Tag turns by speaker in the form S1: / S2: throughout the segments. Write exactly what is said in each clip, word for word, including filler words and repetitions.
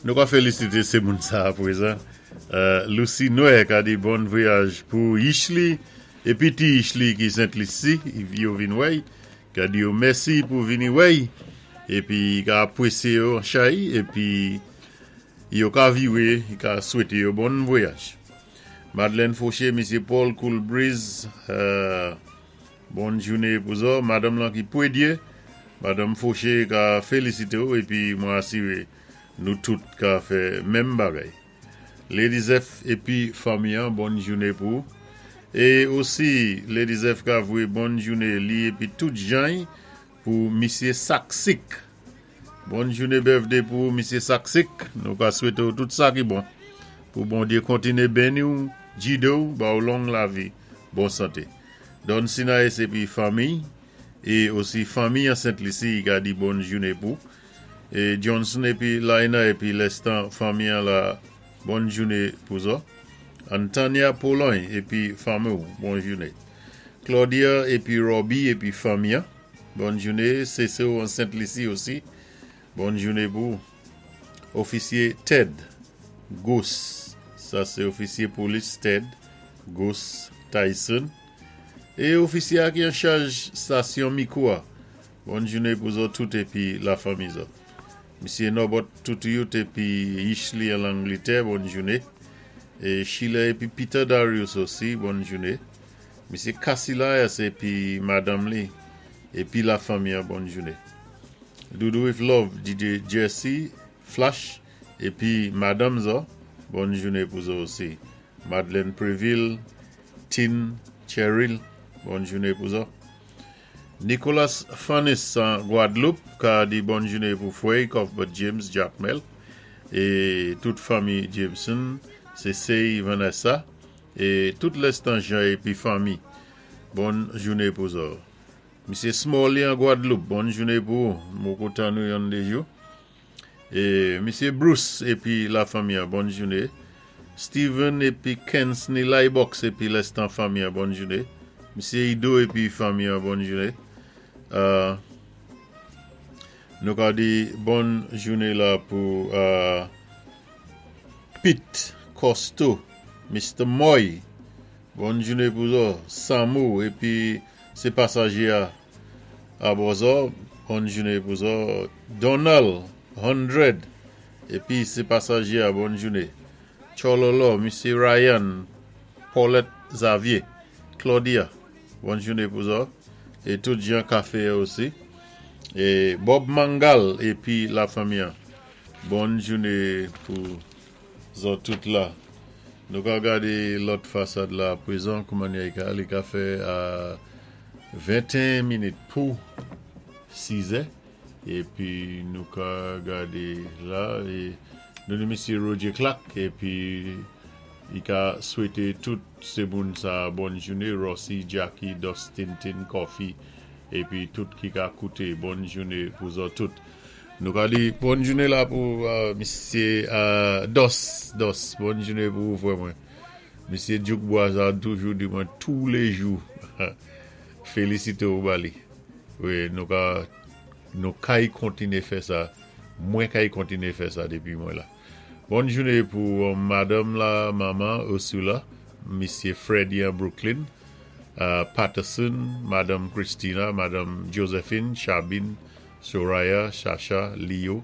S1: Nou ka félisité sé moun sa apwézan. Euh, Lucy Noé ka di bon vwayaj pou Yishli épi ti Yishli ki Sent-Lisi, yo vin wè'y, ka di yo mèsi pou vini wè'y épi ka apwésyé yo an chay épi yo ka viwé, ka swété yo bon vwayaj. Madeleine Fauché, Misyé Paul Coolbreeze, euh, bonn jouné pou zo. Madanm lan ki pwédyé, Madanm Fauché ka félisité ou épi mwen asiwé nou tout ka fè menm bagay. Lady Zeph épi fanmi an, bonn jouné pou. É osi Lady Zeph ka vwé bonn jouné li épi tout jan pou Misyé Saksik. Bonn jouné birthday pou Misyé Saksik. Nou ka swété ou tout sa ki bon. Pou Bondyé kontiné béni ou, gidé ou, ba ou long lavi, bon santé. Don Sinaïs épi fanmi é osi fanmi an Sent-Lisi ka di bonn jouné pou. É Johnson épi Laina épi lèstan fanmi an la bonn jouné pou zo. Antania Pologne épi fanmi ou, bonn jouné. Claudia épi Robbie épi fanmi an, bonn jouné. Cécile an Sent-Lisi osi, bonn jouné pou. Ofisyé Ted Goose, sa sé ofisyé polis Ted Goose Tyson. É ofisyé ki an chaj stasyon Mikoua, bonn jouné pou zo tout épi lafanmi zo. Misyé Norbert Toutuyut épi Yishli an Langlétè, bonn jouné. É Sheila épi Peter Darius osi, bonn jouné. Misyé Cassilayas épi Madanm li épi lafanmi an, bonn jouné. Doudou with Love, DJ Jesse Flash épi Madanm zo, bonn jouné pou zo osi. Madeleine Préville, Tin Cheryl, bonn jouné pou zo. Nicolas Fanis an Gwadloup, ka di bonn jouné pou Fwey, Cuthbert James, Jacmel, é tout fanmi Jameson, Cécile Vanessa, é tout lèstan jan épi fanmi. Bonn jouné pou zo. Misyé Smalley an Gwadloup, bonn jouné pou mwen kontan nou yon dé jou. É Misyé Bruce épi lafanmi an, bonn jouné. Steven épi Kensney Lybox épi lèstan fanmi an, bonn jouné. Misyé Ido épi fanmi an, bonn jouné. Euh, nou ka di bonn jouné la pou euh, Pete Costo, Mr. Moy, bonn jouné pou zo, Samu épi sé pasajé a abò zo, bonn jouné pou zo, Donald Hundred épi sé pasajé a bonn jouné. Chololo, Misyé Ryan, Paulette Xavier, Claudia, bonn jouné pou zo, é tout jan kafé osi. É Bob Mangal épi lafanmi an. Bonn jouné pou zo tout la. Nou ka gadé lòt fasad la pwézan kouman li ka li ka fè a venteyen minit pou sizè épi nou ka gadé la é nou ni Misyé Roger Clark épi i ka swété tout sé moun sa bonn jouné Rossi, Jackie, Dustin, Tin, Coffee épi tout ki ka kouté bonn jouné pou zo tout. Nou ka di bonn jouné la pou euh, Misyé euh, Dos, Dos, bonn jouné pou frè mwen. Misyé Duke Boisard toujou di mwen tou lé jou. Félisité ou ba li. Wi, nou ka nou kay kontiné fè sa. Mwen kay kontiné fè sa dépi mwen la. Bonn jouné pou euh, Madanm la, manman Ursula, Misyé Freddy an Brooklyn, euh, Patterson, Madanm Christina, Madanm Josephine, Chabine, Soraya, Chacha, Leo,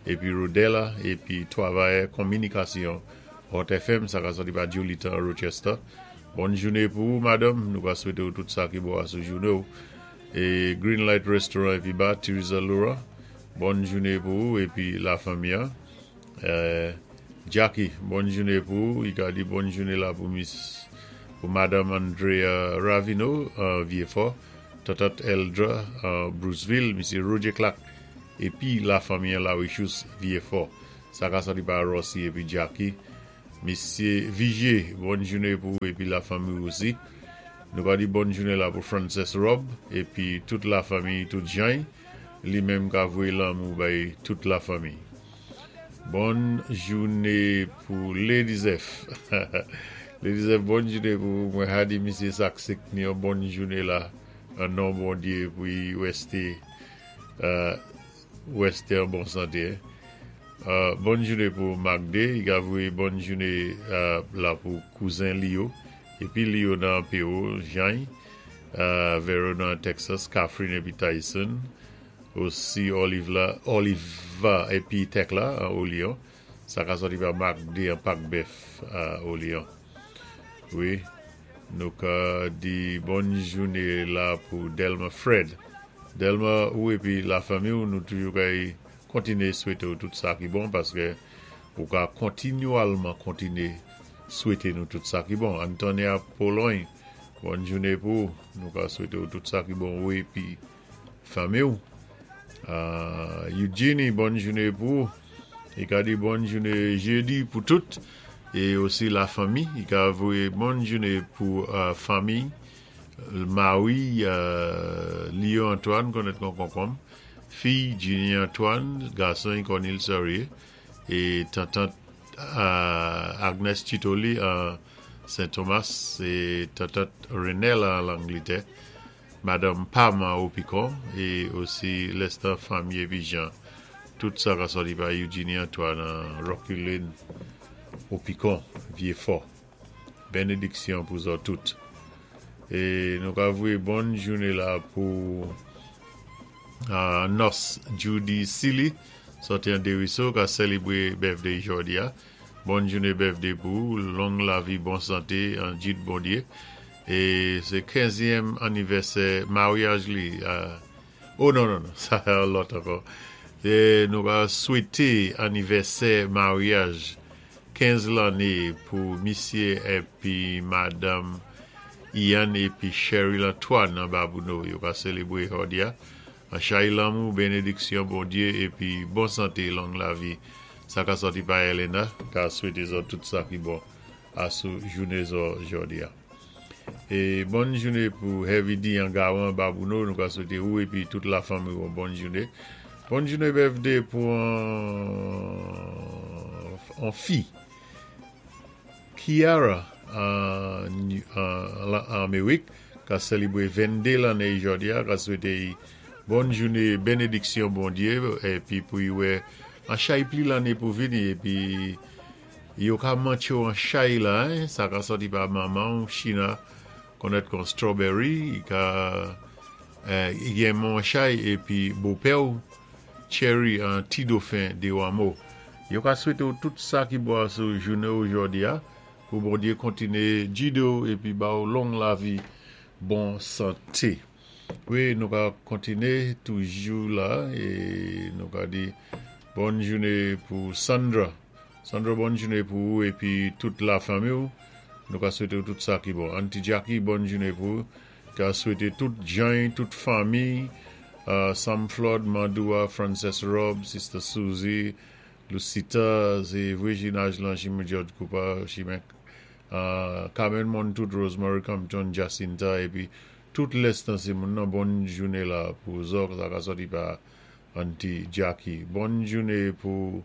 S1: épi Rodella, épi twavayè kominikasyon Hot FM, sa ka soti pa Julita Rochester. Bonn jouné pou ou, madanm. Nou ka swété ou tout sa ki bon asou jouné ou. É Green Light Restaurant épi bar, Teresa Laura. Bonn jouné pou ou, épi lafanmi an. Euh, Jackie, bonn jouné pou ou. I ka di bonn jouné la pou Miss, pou Madanm Andrea Ravino, euh, Vieux-Fort. Tatat Eldra, euh, Bruceville, Misyé Roger Clark, épi lafanmi an la Wichous Vieux-Fort. Sa ka soti pa Rossi épi Jackie. Misyé Vigier, bonn jouné pou ou épi lafanmi osi. Nou ka di bonn jouné la pou Frances Rob épi tout lafanmi, tout jan. Li menm ka vwé lanmou bay tout lafanmi. Bonn jouné pou Lady Zeph. Lady Zeph, bonn jouné pou mwen ha di Misyé Saksik ni yon bonn jouné la an non Bondyé pou y wèsté euh, wèsté an bon santé. Euh, Bòn jouné pou Magde, i ka voyé bòn jouné euh, la pou kouzen li yo, épi li yo nan P O, Jean, euh, Verona, Texas, Catherine épi Tyson, osi Olive la, Oliva épi Tekla à Olion. Sa ka sòti pa Magde an Pak Bèf à Olion. Wi, nou ka di bòn jouné la pou Delma Fred. Delma ou épi la fanmi ou, nou toujou kay kontiné swété ou tout sa ki bon paské ou ka kontinyèlman kontiné swété nou tout sa ki bon. Antonia Pologne, bòn jouné pou nou ka swété ou tout sa ki bon ou épi fanmi ou. Euh, Eugenie, bòn jouné pou i ka di bòn jouné jédi pou tout é osi la fanmi. I ka voyé bòn jouné pou euh, fanmi Marie euh, Léo Antoine konnèt kon konkonm, fi Ginny Antoine, gason Cornel Sorier é tantant euh, Agnes Chitoli à Saint-Thomas é tantant Renel an Langlétè, Madame Pam à Opicon é osi Lester fanmi épi Jean. Tout sa ka sòti pa Eugenie Antoine an Rocky Lane, Opicon, Vieux-Fort. Bénédiksyon pou zòt tout. É nou ka voyé bòn jouné la pou euh, Nos Judy Silly, sòti an Deriso, ka sélébwé birthday jòdi a. Bòn jouné birthday pou, long lavi, bon santé, an jid Bondyé. É sé kenzyèm anivèsè maryaj li. euh, oh non, non, non, sa lòt ankò. É nou va swété anivèsè maryaj kenz lanné pou misyé épi madam Ian épi Cheryl Antoine nan Babouno. Yo ka sélébwé jòdi a. An chay lanmou, bénédiksyon Bondyé épi bon santé, long lavi. Sa ka sòti pa Elena, ka swété zòt tout sa ki bon asou jouné zo jòdi a. É bòn jouné pou Heavy D an Gawan Babouno, nou ka swété ou épi tout la fanmi ou bòn jouné. Bòn jouné birthday pou an, an fi. Kiara an, an, an Amérik, ka sélébwé venndé lanné jòdi a, ka swété bòn jouné, bénédiksyon Bondyé, épi pou i wè an chay pli lanné pou vini, épi yo ka mantché an chay la, hein, sa ka sòti pa manman ou China, konnèt kon strawberry, i ka euh, i gen mon chay, épi bopè ou, Cherry an ti dauphin de Wamo. Yo ka swété ou tout sa ki bon sou jouné ou jòdi a, pou Bondyé kontiné jidé ou épi ba ou long lavi, bon santé. Wi, nou ka kontiné toujou la é nou ka di bòn jouné pou Sandra. Sandra, bòn jouné pou ou épi tout la fanmi ou. Nou ka swété ou tout sa ki bon. Auntie Jackie, bòn jouné pou ou. Ka swété tout Jean, tout fanmi, euh, Sam Flood, Mandoua, Frances Rob, Sister Susie, Lucita, sé Virginia Ajlan, Jimmy George Cooper, Chimek, euh, Carmen Montout, Rosemary Compton, Jacinta, épi tout lèstan sé moun nan bòn jouné la pou zòt, sa ka sòti pa Auntie Jackie. Bòn jouné pou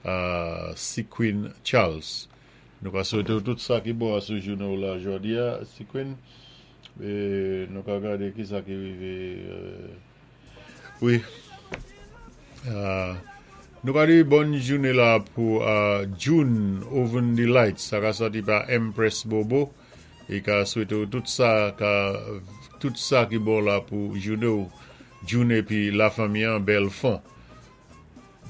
S1: euh, Sequin Charles. Nou ka swété ou tout sa ki bon asou jouné ou la jòdi a, Sequin. É nou ka gadé ki sa ki rivé. Euh, wi. Euh, nou ka di bòn jouné la pou euh, June Oven Delight. Sa ka sòti pa Empress Bobo. É ka swété ou tout sa ka, tout sa ki bon la pou jouné ou June épi la fanmi an Belfond.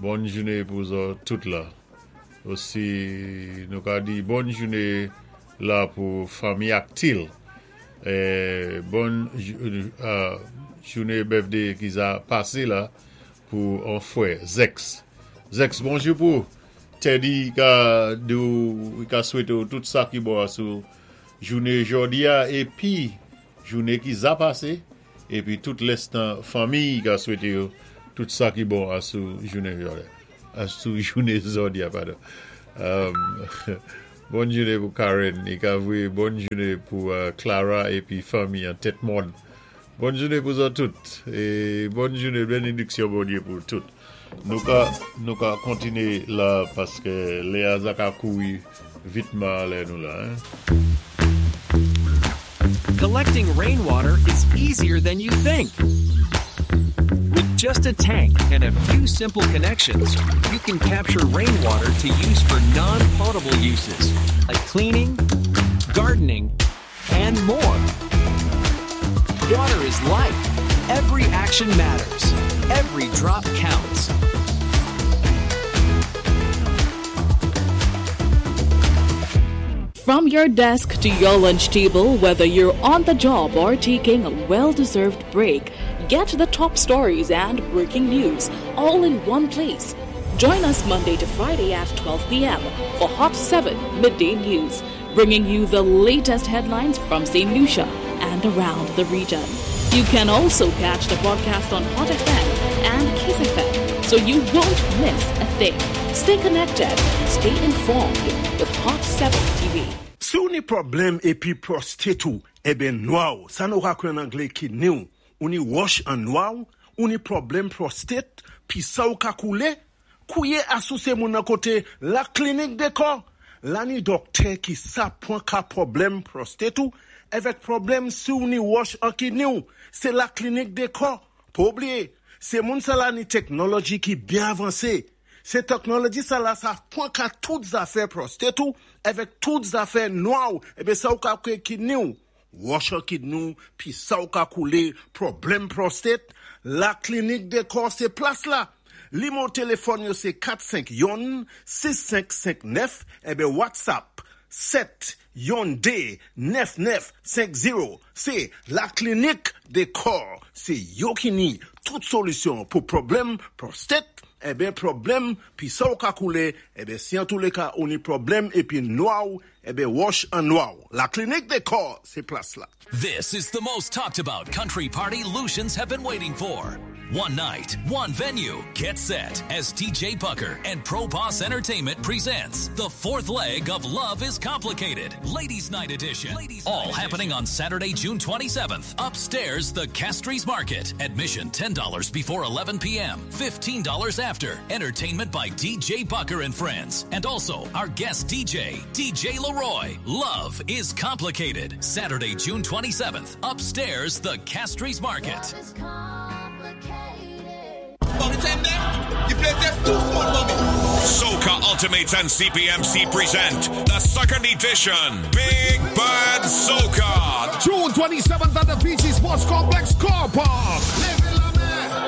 S1: Bòn jouné pou zòt tout la. Osi nou ka di bòn jouné la pou fanmi Actil. É, bòn euh, jouné birthday ki za pasé la pou an fwè Zex. Zex, bonjou pou Teddy ka di ou ka swété ou tout sa ki bon sou jouné jòdi a épi jouné ki za pasé épi tout lèstan fanmi ka swété yo tout sa ki bon asou jouné jòdi a. Asou jouné jòdi a, padon. Um, bòn jouné pou Karen, i ka voyé bòn jouné pou euh, Clara épi fanmi an tèt mòn. Bòn jouné pou zòt tout é bòn jouné bénédiksyon Bondyé pou tout. Nou ka nou ka kontiné la paské lè a za ka kouri vitman lè nou la. Hein?
S2: Collecting rainwater is easier than you think. With just a tank and a few simple connections, you can capture rainwater to use for non potable uses like cleaning, gardening, and more. Water is life. Every action matters. Every drop counts.
S3: From your desk to your lunch table, whether you're on the job or taking a well deserved break, get the top stories and breaking news all in one place. Join us Monday to Friday at twelve p m for Hot seven Midday News, bringing you the latest headlines from Saint Lucia and around the region. You can also catch the broadcast on Hot F M and Kiss F M, so you won't miss a thing. Stay connected, stay informed with Hot seven T V.
S4: Si ou ni pwoblèm épi prostate ou, ébén nwa, sa nou ka kwé an anglé kidney ou, ou ni wòch an nwa, ou ni pwoblèm prostate, pi sa ou ka koulé, kouwé asou sé moun nan koté La Clinique des Corps. La ni dòktè ki sa pwan ka pwoblèm prostate ou, avèk pwoblèm si ou ni wòch an kidney ou, sé La Clinique des Corps. Pa bliyé, sé moun sa la ni teknoloji ki byen avansé. Sé teknoloji sa la sa pwan ka tout zafè prostate ou, avèk tout zafè nwa ou, ébén sa ou ka kwé kidney ou. Wòch an kidney ou, pi sa ou ka koulé, pwoblèm prostate, La Clinique des Corps sé plas la. Nimewo téléfòn yo sé kat senk youn sis senk senk nèf, ébén WhatsApp sèt youn dé nèf nèf senk zewo. Sé La Clinique des Corps. Sé yo ki ni tout solisyon pou pwoblèm prostate, ébén pwoblèm pi sa ou ka koulé, ébén si an tou lé ka ou ni pwoblèm épi nwa ou, ébén wòch an nwa ou. La Clinique des Corps, sé plas la.
S5: This is the most talked about country party Lucians have been waiting for. One night, one venue. Get set as D J Bucker and Pro Boss Entertainment presents the fourth leg of Love is Complicated, Ladies Night Edition. All happening on Saturday, June twenty-seventh, upstairs, the Castries Market. Admission ten dollars before eleven p m, fifteen dollars after. Entertainment by D J Bucker and friends. And also our guest D J, D J Leroy. Love is Complicated. Saturday, June twenty-seventh, upstairs, the Castries Market.
S6: The place is too small for me.
S7: Soca Ultimates and C P M C present the second edition Big Bad Soca.
S8: June twenty-seventh at the P G Sports Complex Car Park.